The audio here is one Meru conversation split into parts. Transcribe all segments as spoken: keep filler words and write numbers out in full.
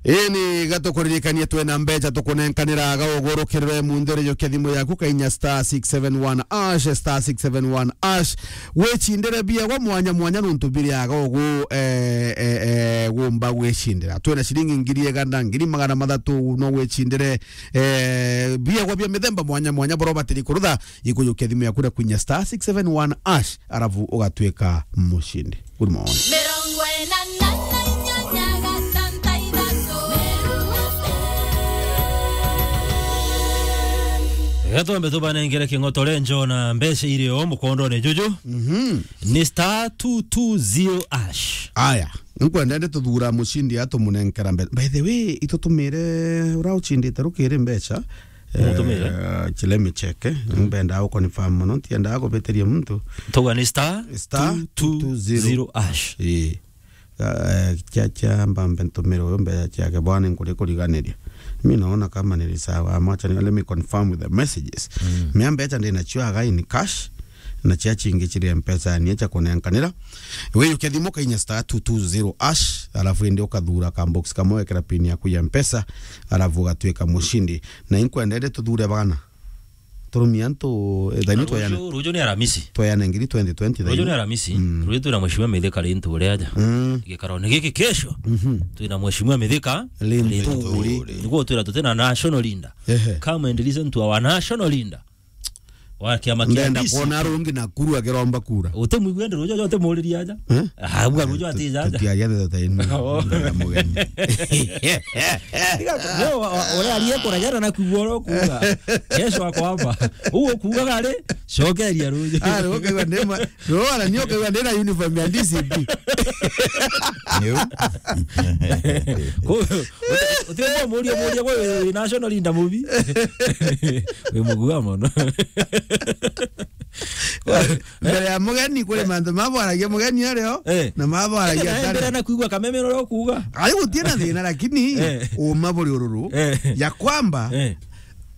Ini gatukuririkanie twina mbeca tukunenkanira aga ugurukirire munthiri jukia thimu yaku kainya star six seven one hash, star six seven one hash. Wicindire biegwa mwanya mwanya nuntu biri aga ugu, eh, eh, eh, gumba gwicindira. Twina ciringi ngiri igana, ngiri magana mathatu no wicindire, eh, biegwa bia mithemba mwanya mwanya bura ubatiri kurutha. Ikujukia thimu yaku na kwinya star six seven one hash, arafu ugatwika mucindi. Good morning. Mirongo ina na inyanya gatanta ithatu. Gatombe tubanengere king'otore njo na mbeca iri o mukondone juju. Mhm. Ni star two two zero hash. Aya, nkwenda ndi tuthura mucindi atumunenkera mbe-, by the way, itutumire ura ucindite rukiri mbeca. Mutumire? Eh, let me check, eh. Mm. Mbendaa guconfirm mono, ntiendaa kubitiria muntu. Tuga ni star star two two zero hash. Ii. Eh, kia, kia mbambe ntumire uyu mbeca ciake bwana nkuri kuriganiria. Mi naona kama nili sawa, mwacha ni, let me confirm with the messages. Mm. Mia mbeca ndina cio aga in cash, na cia chingi chiri mpesa ni cha kunenkanira. Wiyukia thimu kainya star two two zero hash, alafu indi ukathura ka box kamwe wekera pin yaku ya mpesa, alafu ugatwika mushindi. Na inkwendete tuthure bana. Turumia antu, eh, thaini tweyane. Ruju, ruju ni Aramisi. Tweyane ngiri twenty twenty. Ruju ni thaini. Aramisi. Mm. Ruju twina mheshimiwa Mithika Linturi aja. Mm. Gikarone giki kesho. Mhm. Twina mheshimiwa Mithika Linturi. Linturi. Niguo twira tutina national leader. Ehe. Come and listen to our national leader. Wa kiama kia Ndenda D C. Kuona rungi Nakuru akiromba kura. Utemwigua ndi rujo, utemuriria aja. Eh? Ah, bwa rujo ati aja. Tutiagia theta inu. Oh. Ndenda mugeni. Yo, wa, wa, ore arie kuragera na kuigua oro kuuga. Kesho ako hapa. Ugo kuuga gari, cokeria rujo. Ah, rugo kaigua ndema. Rugo ara nio kaigua ndena uniform ya D C P. Niu. Ko, uti, uti muria, muria kwa national leader mubi. Wi mugua mono. Mbere ya mugeni kuri mantu mabwaragia mugeni ario, eh, na mabwaragia eh, atari. Mbere na kuigua kameme uria ukuuga. Ai gutie na thina, lakini eh, uma buri ururu, eh, ya kwamba eh,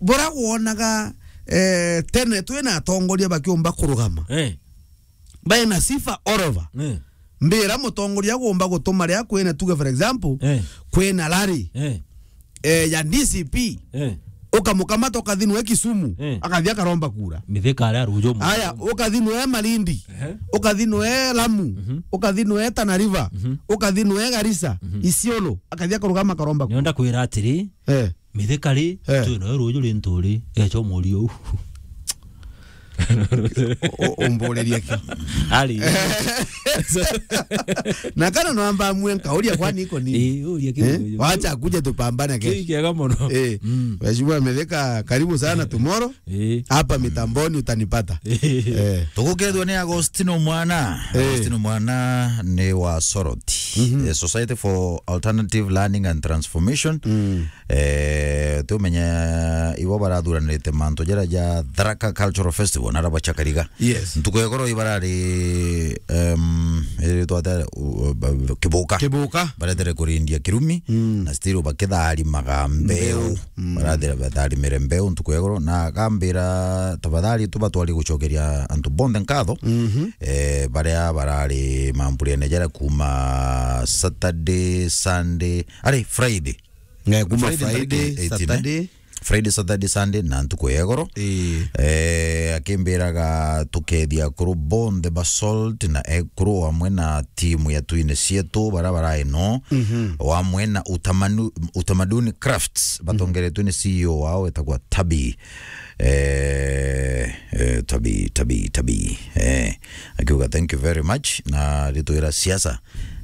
bura wonaga, eh, tene twina atongoria bakiumba kurugama. Eh. Baina sifa all over. Eh. Mbira mutongoria agomba gutuma ria kwina, tuge for example, eh, kwina rally, eh, eh, ya D C P, eh, ukamukamata ukathinwe Kisumu, eh, akathi akaromba kura. Mithika aria rujo mu. Aya, ukathinwe Malindi, eh, ukathinwe Lamu, mhm, ukathinwe Tana River, mhm, ukathinwe Garissa, mhm, Isiolo, akathi akarugama akaromba kura. Nionda kwira atiri, eh. Mithika ri, eh, twina yo ruju ri nturi, echo murio u. U-, umburirie ki? Ari. Na kana no amba amue nkauria kwani iko nini? Eh, uria ki eh? Uyu. Wacha kuja tupambane kesho. Ki kiega mono. Eh. Mm. Mheshimiwa Mithika, karibu sana tomorrow. Eh. Hapa mitamboni utanipata. Eh. Eh. Tugukethwa ni Agostino Mwana. Eh. Agostino Mwana ni wa Soroti. Mhm. Eh, Society for Alternative Learning and Transformation. Mm. Eh, tumenye ibo barathuranirite mantu jaria ja Tharaka Cultural Festival, na araba cha Kariga. Yes. Ntuku ya igoro ibarari, em, iri twate, u-, ba-, Kibuka. Kibuka. Baretere kurindia kirumi, mm, na still bakitharimaga mbeu. Mbeu. Mm. Barathira batharimire mbeu ntuku ya igoro, na akambira, "Tafadhali tu batwari gucokeria antu bonthe nkatho, mhm, eh, baria barari mamburene jaria kuma Saturday, Sunday, ari Friday." Eh, kuma Friday, Friday, ntariki eighteen, eh? Saturday. Friday, Saturday, Sunday, na ntuku ya igoro. Ii. Eh, akimbiraga tukethia akuru bonthe ba Salt na ekuru amwe na timu ya Twine Cietu, bara barai no, mhm, amwe na utamanu-, Utamaduni Crafts, mhm, batongeretwe ni C E O wao wetagwa Tabi. Eh, eh, Tabi, Tabi, Tabi. Eh, akiuga, "Thank you very much." Na ritwira siasa.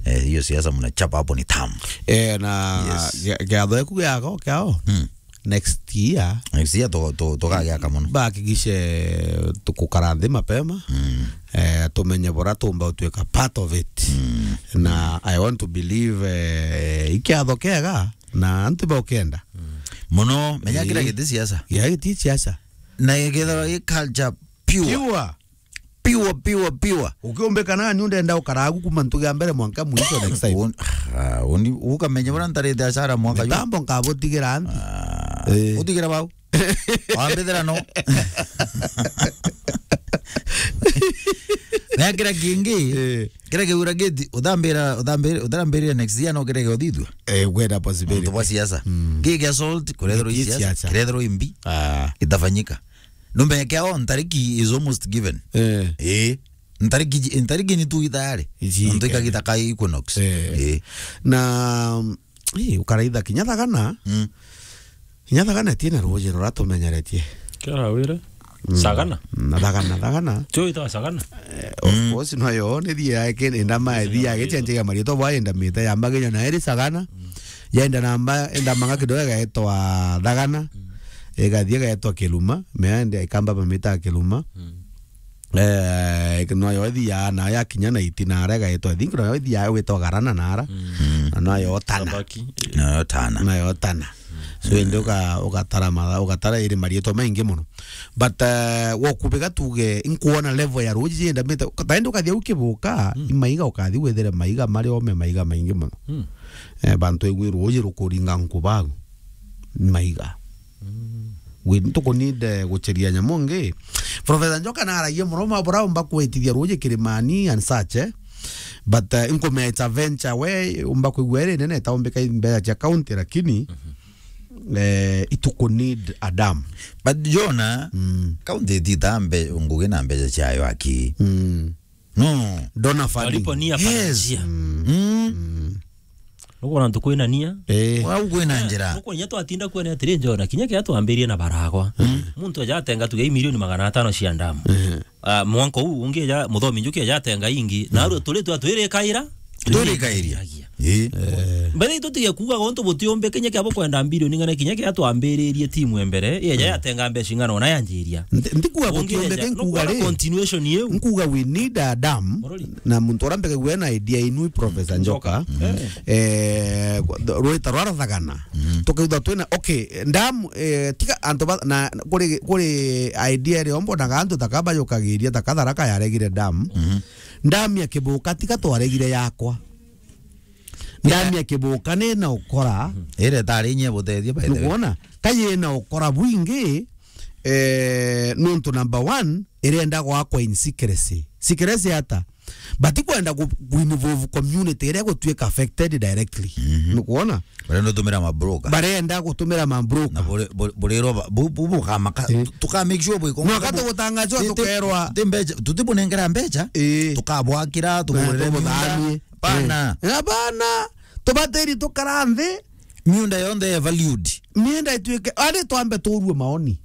Eh, hiyo siasa mnachapa hapo ni tamu. Eh, na yes, gia-, giatho eku giako kiao. Hmm. Next year. Next year to, to, tugagiaka mono. Bahakikishe tukukara nthi mapema. Mm. Eh, tumenye bora tumba utwika part of it. Mm. Na I want to believe, eh, ikiatho kiega na antu baukenda. Mm. Mono, menya kira giti siasa. Kira giti siasa. Na githirwa gi culture pure. Pure. Pure, pure, pure. Ukiumbika nani undenda ukaragu kuma ntugi ya mbere mwanka mwisho next time. Un-, ah, uni-, ukamenya bora ntarite ashara mwaka ju. Mitambo nkabutigira nthi. Ah, eh, utigira bau. Wambithira no. Na kira kingi, Eh. kira kiura gate, uthambira, uthambira, uthambira next year no kira giothithua. Eh, gwenda possibility. Muntu bwa siasa. Mm. Gigi assault, kurethirwa Gigi siasa, siasa. Kurethirwa imbi. Ah. Itafanyika. Numbe kia o ntariki is almost given. Eh. Eh. Ntariki, ntariki ni tu itayari. Iji Ntu ikagita ka Equinox. Eh. Eh. Na, eh, ukaraitha kinya thagana. Mm. Kinya thagana ti na ruuji ruratumenyeretie. Kira wire. Mm. Sagana. Na thagana, thagana. Tio ita sagana. Eh, of Mm. course, no yo, ni thia eke, enda ma, Ita thia eke, magitwa. Chenje ya marito bwa enda mita ya maginya na eri sagana. Mm. Yaenda na mba, enda manga kidogo gaetwa thagana. Mm. Igathie gaetwa kiluma, meende ikamba bamita kiluma. Mm. Eh, no yo ithia na ya kinya na iti na ara gaetwa, I think no yo ithia wetwa garana na ara. Mm. Na no yo tana. Tabaki. No yo tana. Na yo tana. So, indi uka-, ugatara matha-, ugatara iri marietwa maingi muno. But, eh, wokubiga tuge, inkuona level ya ruuji jindamite, ka-, taindi ukathia ukibuka, Mm. imaiga ukathi withire maiga mari ome maiga maingi muno. Mm. Eh, bantu igwi ruuji rukuringa nkubagu, maiga. Mm. Gwi, ntukuninde gucheria nyamu ngi. Professor Njoka naragia muno ma buraumba kwitithia ruuji kirimani and such, eh? But, uh, inkumea it's a venture we umba kwigua iri nene itaumbika i mbeca cia county, lakini, Mhm. eh, ituku need a dam. But Jona, Mm. county ititaa mbe-, ngugi na mbeca ciayo aki. Mm. No. Donor funding. Waliponia Yes. panasia. Mm. Mm. Mm. Nukwona ntuku ina nia? Eh. Wau kwina Eh, njira. Nukwona nya twatinda kwene atiri Jona, kinya kia twambirie na baragwa. Mm. Muntu ajatenga tuge milioni magana atano cia ndamu. Eh. Ah, mwanka uu ungi ja muthomi njuki ajatenga ingi. Na Mm. aru turi twa twirikaira. Twirikairia. Eh. Eh. Mbere itu tige kuuga gontu butiumbe kinya kia bukwenda bilioni ng'ana kinya kia twambiririe timu e mbere. Iya ja Mm. yatenga mbeca ing'ana ona yanjiria. Nti-, ntikuga Ungi butiumbike, ja, nkuga nukwona ri? Continuation iu. Nkuga we need a dam. Murori. Na muntu uria mbegagua na idea inu i Professor Njoka. Njoka. Eh. Eh, rwita rwa Rathagana. Mm. Tukaigua twina, okay, dam, eh, tiga antu ba, na, kuri, kuri idea iria mbonaga antu taka bajukagiria, taka Tharaka yaregire dam. Mm. Dam ya Kibuka tiga twaregire yakwa. Dam ya Kibuka ni na ukora. Ire tari inye butethia, by the way. Nukwona? Ka yina ukora bwingi, eh, nuntu number one, irenda gwakwa in secrecy. Secrecy ata? Batikwenda ku, ku involve community iria gutuika affected directly. Mhm. Nukwona? Barenda gutumira ma broker. Barenda gutumira ma broker. Na buri-, buri-, burirwa ba-, bu-, bu-, bukamaka-, Eh. tu-, tuka make sure bwiko. Mwaka tugutangazwa ti-, ti-, tukerwa. Ti mbeca, tutibunengera mbeca, Eh. tukabwakira, Na tugurire tumuthanie. Miunda. Pana. Eh. Na bana, tubatiri tukara nthi. Miunda yonthe ya valued. Miunda ituike, ari twambe turue maoni.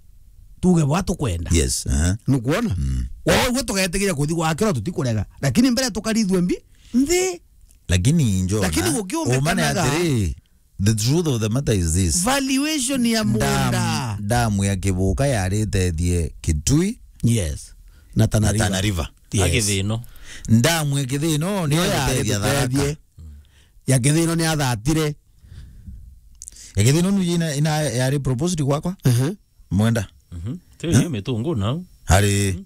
Tuge bwa tukwenda. Yes, aha. Nukwona? Mm. Wao gwe tugetigira kuthi gwakirwa tutikurega. Lakini mbere tukarithue mbi, nthi. Lakini Jona, Lakini gukiumbikanaga uma ni atiri, the truth of the matter is this. Valuation ya Dam, munda. Dam ya Kibuka yaritethie Kitui. Yes. Na Tana Na River. Tana River. Yes. Akithino. Dam ya Kithino ni Niyo yari yagutethia Tharaka. Tutethie. Ya Kithino ni athatire. Ya Kithino nu ina, ina yari proposed gwakwa. Mhm. Mwenda. Mhm. Tio Eh? Ni mitungu nau. Hari.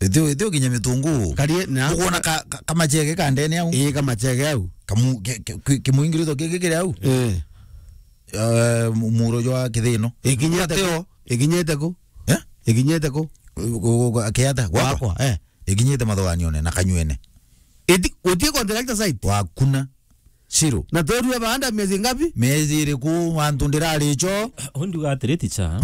Itio, itio kinya mitungu. Karie na Ukwona ka, ka, kamachege ka ndene au. Ii, kamachege au. Kamu-, ke, ke, ke, kimuingirito giki kiri au. Eh. Eh, mu-, muro jwa Kithino. Ikinyite Ateo. Ku? Ikinyite ku? Eh? Ikinyite ku? Ku, ku, ku, akiata? Gwakwa? Gwakwa, eh. Ikinyite mathuganione na Kanyuene. Iti, utie contractor site? Wakuna. Zero. Na twerue baanda miezi ngapi? Miezi iriku antu ndirari cho? Undi uga atiri, teacher.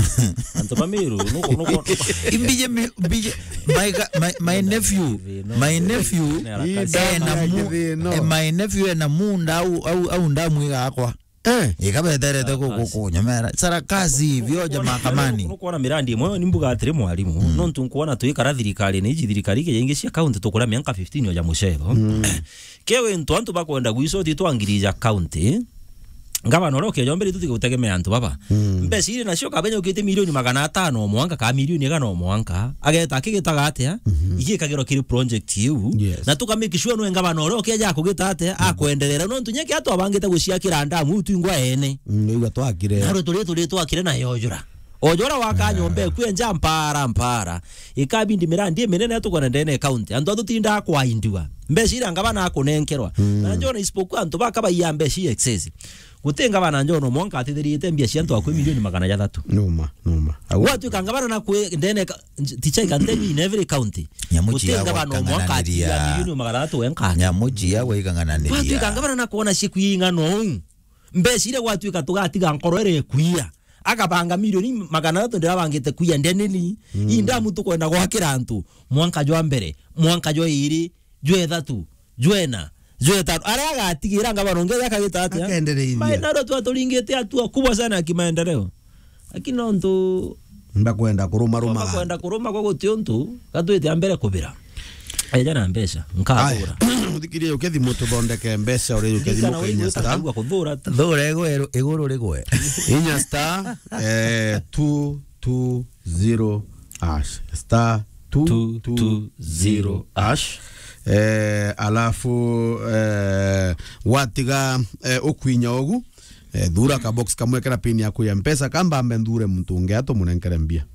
Antu ba Meru, nuko, nuko, nuko. Imbije mi-, mbije, my ga-, my, my nephew, my nephew, Ii ena damu ya mu-, Kithino. Eh, my nephew ena munda au, au, au ndamu igakwa. Eh. Ikabeterete ku-, ku-, Sarakasi. Kunyomera. Sarakasi, vioja mahakamani. Nukwona mirandi imwe, ni mbuga atiri mwarimu, Mm. nontu nkwona twikara thirikari ni iji thirikari ikeja ingi cia county tukura mianka fifteen oja mucetho. Mm. Kewe ntu antu bakwenda gwiso ti twangirija county. Ngavana uria ukeja mbere tu tigutegemea antu baba. Mm. Mbeca iri nacio kabenya ukite milioni magana atano o mwanka, ka milioni igana o mwanka. Ageta akigitaga atia? Mhm. Igikagirwa kiri project iu. Yes. Na tuka make sure nwe ngavana uria ukeja akugita atia? Mm. Akwenderera. Nontu nyeke atwabangite guciakira ndamu iu twingwa ene. Mm, igua twakire. Na rwe turi turi twakire na yojura. Ojo uria wakaa nyomba eku enja mpara, mpara. Ikabindi mirandi iminene tukwona ndene ya county. Antu atutindaa kwaindiwa. Mbeca iria ngavana akunenkerwa. Na njona isipokuwa antu bakabaiya mbeca i excess. Guti ngavana njona mwanka atithirite mbia cia antu akwi milioni magana jathatu. Numa, numa. Au- Gwatuika ngavana na kwi ndene ka-, nj-, ticha ikantebi in every county. Nyamu Guti ciagwa ngavana mwanka ikang'ananiria. Atiga milioni magana jathatu wenka. Nyamu ciagwa ikang'ananiria. Gwatuika ngavana na kuona ciku ing'ana uu. Mbeca iria gwatuika tugatiga nkoro iria ikuia. Akabanga milioni magana jathatu ndiria abangite kuia ndeneni. Ii ndamu tukwenda gwakira antu. Mwanka jwa mbere, mwanka jwa iri, jwa ithatu, jwa ina, jwa itano. Aria agatigira ngavana ungi akagita atia? Akendereithia. Maendeleo tu aturingite hatua kubwa sana ya kimaendeleo. Lakini nontu Mbakwenda kuruma rumaga. Twakwenda kuruma kwa guti untu, gatwite a mbere kubira. Eja na mbeca, nkagura. Aya, uthikirie ukethimu tuthondeke mbeca uri ukethimu Kana kenya uigwita star. Kugua kuthura tu. Thura igwe, iguru rigwe. Inya star, eh, two two zero hash. Star two two zero hash. Eh, alafu, eh, watiga, eh, ukwinya ugu, eh, thura ka box kamwe kena pin yaku ya mpesa, kamba ambe nthure muntu ungi atumunenkere mbia.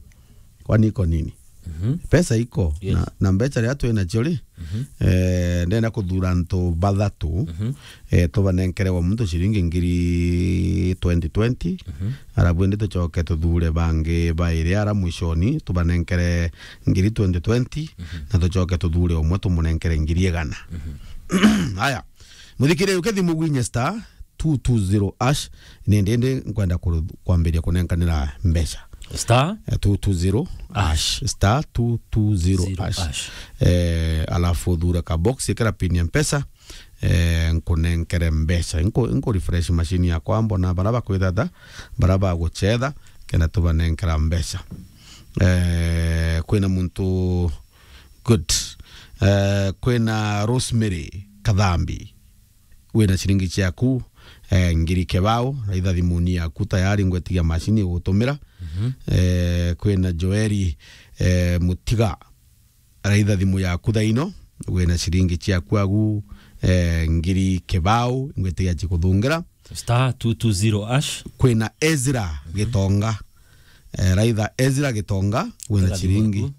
Kwani iko nini? Mhm. Pesa iko, yes, na, na mbeca ria twina cio ri, mhm, eh, ndenda kuthura antu bathatu, mhm, eh, tubanenkere wa muntu ciringi ngiri twenty twenty, mhm, arabu indi tucoke tuthure bangi bairi ara mwishoni, tubanenkere ngiri twenty twenty, mhm, na tucoke tuthure umwe tumunenkere ngiri igana. Mhm. Aya, muthikire ukethimu gwinye star two two zero hash, ni ndindi nkwenda kuru-, kwambiria kunenkanira mbeca. Star? Eh, two two zero hash. Star two two zero hash. Zero hash. Eh, alafu thura ka box, ikira pin ya mpesa, eh, nkunenkere mbeca. Nku-, nku refresh machine yakwa, mbona bara bakwithata, bara baguchetha, kenda tubanenkera mbeca. Eh, kwina muntu, good. Eh, kwina Rosemary Kathambi. Wina ciringi ciaku, eh, ngiri kebao, raitha thimuni yaku tayari ngwetigia macini igutumira. Mhm. Eh, kwina Joeli, eh, Mutiga, raitha thimu yaku thaino, wina ciringi ciaku agu, eh, ngiri kebao, ngwetigia cikuthungira. Star two two zero hash. Kwina Ezra, mhm, Gitonga, eh, raitha Ezra Gitonga, wina ciringi. Tega thimu yaku.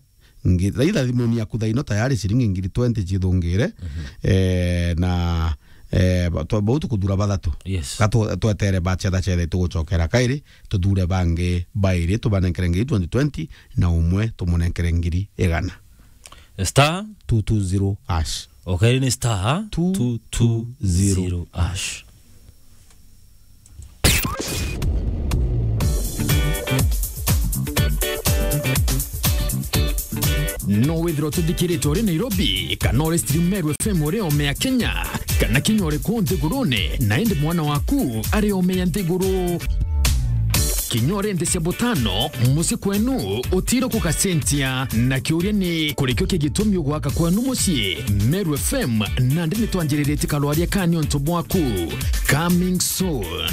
Ngi-, raitha thimuni yaku thaino tayari ciringi ngiri twenty cithungire, mhm, eh, na, eh, ba-, twa-, bau tukuthura bathatu. Yes. Ga twe-, twetere bacetha cethe tugucokera kairi, tuthure bangi bairi, tubanenkere ngiri twenty twenty, na umwe tumunenkere ngiri igana. Star? Two two zero hash. Okay, ni star two two zero hash. No withirwa tuthikirite uri Nairobi, kana uri stream Meru F M uri ome ya Kenya, kana kinya uri kuu nthigurune, na indi mwana waku ari ome ya nthiguru. Kinya uri nthi cia butano, mucii kwenu utiro kugacenjia. Na kiuria ni, kurikio ki gitumi ugwaka kwenu mucii? Meru F M, nandi nitwanjiriritie karwaria ka niontu bwaku. Coming soon.